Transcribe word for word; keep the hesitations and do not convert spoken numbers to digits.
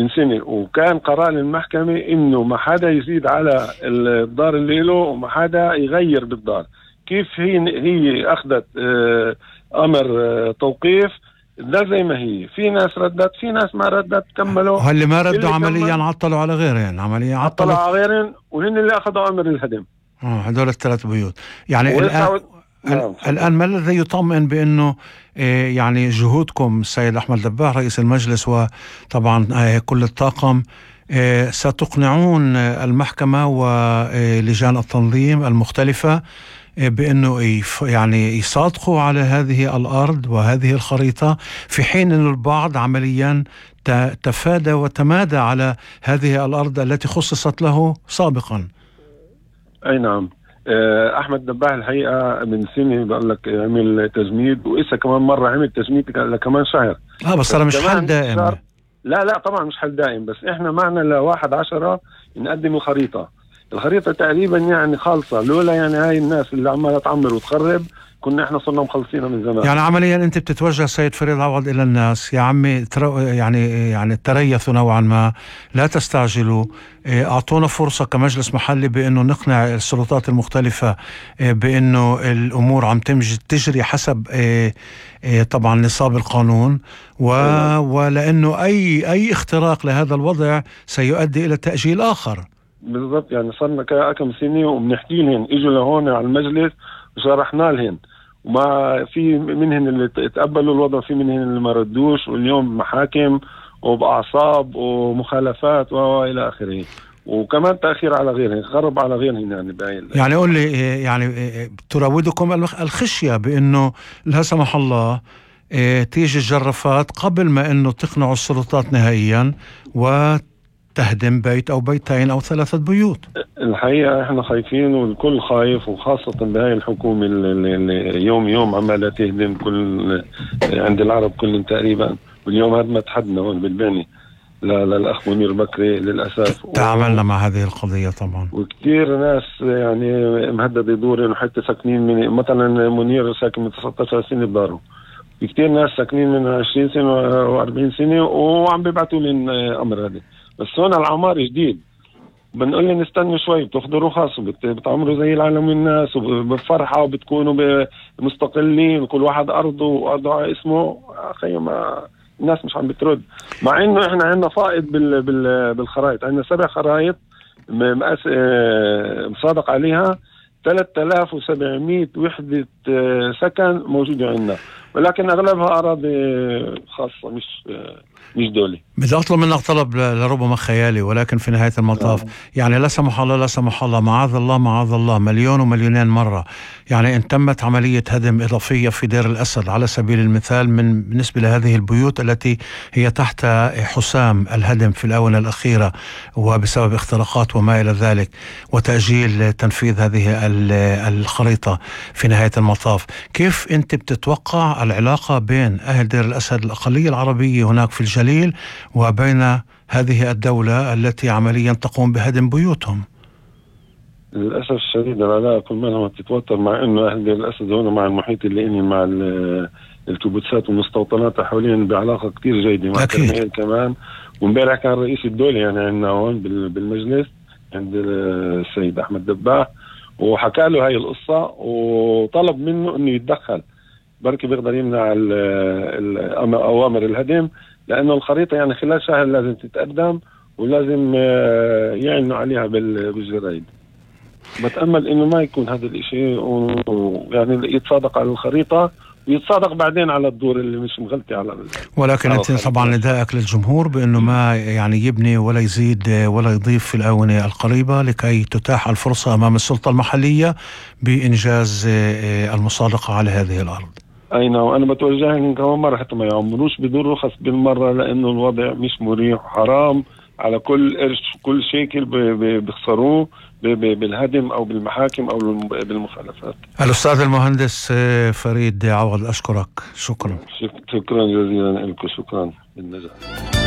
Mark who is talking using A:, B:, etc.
A: من سنة، وكان قرار المحكمة إنه ما حدا يزيد على الدار اللي له وما حدا يغير بالدار. كيف هي هي أخذت اه أمر اه توقيف ده زي ما هي. في ناس ردت، في ناس ما ردت، كملوا.
B: وهاللي ما ردوا عمليا عطلوا على غيرهم، عمليا
A: عطلوا على غيرهم، وهن اللي أخذوا أمر الهدم.
B: اه هدول الثلاث بيوت. يعني الآن نعم. الآن ما الذي يطمئن بأنه إيه يعني جهودكم السيد أحمد دباح رئيس المجلس وطبعا إيه كل الطاقم إيه ستقنعون المحكمة ولجان التنظيم المختلفة إيه بأنه يف يعني يصادقوا على هذه الأرض وهذه الخريطة، في حين أن البعض عمليا تفادى وتمادى على هذه الأرض التي خصصت له سابقا؟
A: أي نعم. أحمد دباح الحقيقة من سنة بقول لك عمل تجميد، وإسا كمان مرة عمل تجميد كمان شهر.
B: آه بس أنا مش حل دائم.
A: لا لا طبعا مش حل دائم، بس إحنا معنا لواحد عشرة نقدم الخريطة. الخريطة تقريبا يعني خالصة، لولا يعني هاي الناس اللي عمالة تعمر وتخرب كنا إحنا صرنا مخلصينها من زمان.
B: يعني عمليا أنت بتتوجه سيد فريد عوض إلى الناس، يا عمي يعني يعني تريثوا نوعا ما، لا تستعجلوا، أعطونا فرصة كمجلس محلي بأنه نقنع السلطات المختلفة بأنه الأمور عم تجري حسب طبعا نصاب القانون، ولأنه أي أي اختراق لهذا الوضع سيؤدي إلى تأجيل آخر.
A: بالضبط. يعني صرنا كم سنة وبنحكي لهم، إجوا لهون على المجلس وشرحنا لهم، وما في منهم اللي تقبلوا الوضع، في منهم اللي ما ردوش، واليوم محاكم وبأعصاب ومخالفات وإلى آخره، وكمان تأخير على غيرهم، خرب على غيرهم. يعني باين
B: يعني قول لي، يعني تراودكم الخشية بأنه لا سمح الله تيجي الجرافات قبل ما أنه تقنعوا السلطات نهائيا و تهدم بيت أو بيتين أو ثلاثة بيوت؟
A: الحقيقة احنا خايفين، والكل خايف، وخاصة بهاي الحكومة اللي يوم يوم عمالة تهدم كل عند العرب كلهم تقريبا. واليوم هدمت حدنا هون بالباني للأخ منير بكري للأسف.
B: تعاملنا مع هذه القضية طبعا،
A: وكثير ناس يعني مهدد يدورين، وحتى ساكنين من مثلا منير ساكن من تسعة عشر سنة بداره، في كثير ناس ساكنين من عشرين سنة وأربعين سنة وعم بيبعتوا لنا أمر هذا. بس هون العمار جديد، بنقول لهم نستنوا شوي، بتاخذوا رخص وبتعمروا زي العالم والناس وبفرحة وبتكونوا مستقلين وكل واحد أرضه وأرضه على اسمه. أخي ما الناس مش عم بترد، مع إنه إحنا عندنا فائض بال بال بالخرائط. عندنا سبع خرائط مقاس مصادق عليها ثلاثة آلاف وسبعمية وحدة سكن موجودة عندنا، ولكن أغلبها أراضي خاصة مش مش دولي.
B: بدي أطلب منك طلب لربما خيالي، ولكن في نهاية المطاف يعني لا سمح الله لا سمح الله معاذ الله معاذ الله مليون ومليونين مرة، يعني إن تمت عملية هدم إضافية في دير الأسد على سبيل المثال من بالنسبة لهذه البيوت التي هي تحت حسام الهدم في الآونة الأخيرة وبسبب اختراقات وما إلى ذلك، وتأجيل تنفيذ هذه الخريطة في نهاية المطاف، كيف أنت بتتوقع العلاقة بين أهل دير الأسد الأقلية العربية هناك في الجليل وبين هذه الدولة التي عمليا تقوم بهدم بيوتهم؟
A: للأسف الشديد العلاقة كل ما تتوتر، مع إنه أهل دير الأسد هنا مع المحيط اللي إني مع الكبوتسات والمستوطنات حوالين بعلاقة كتير جيدة مع كرمال كمان. ومبارح كان رئيس الدولة يعني عندنا هون بالمجلس عند السيد أحمد دباح، وحكى له هاي القصة وطلب منه إنه يتدخل، بركي بيقدر يمنع أوامر الهدم، لأنه الخريطة يعني خلال شهر لازم تتقدم ولازم يعلنوا عليها بالجرايد. بتأمل إنه ما يكون هذا الإشي، ويعني يتصادق على الخريطة ويتصادق بعدين على الدور اللي مش مغلطي على.
B: ولكن أنت طبعا ندائك للجمهور بأنه ما يعني يبني ولا يزيد ولا يضيف في الآونة القريبة لكي تتاح الفرصة أمام السلطة المحلية بإنجاز المصادقة على هذه الأرض.
A: أي نعم. وأنا بتوجه لهم كمان مرة حتى ما يعملوش بدون رخص بالمرة، لأنه الوضع مش مريح وحرام على كل قرش كل شيكل بيخسروه بالهدم أو بالمحاكم أو بالمخالفات.
B: الأستاذ المهندس فريد عوض أشكرك، شكرا
A: شكرا جزيلا لكم، شكرا بالنجاح.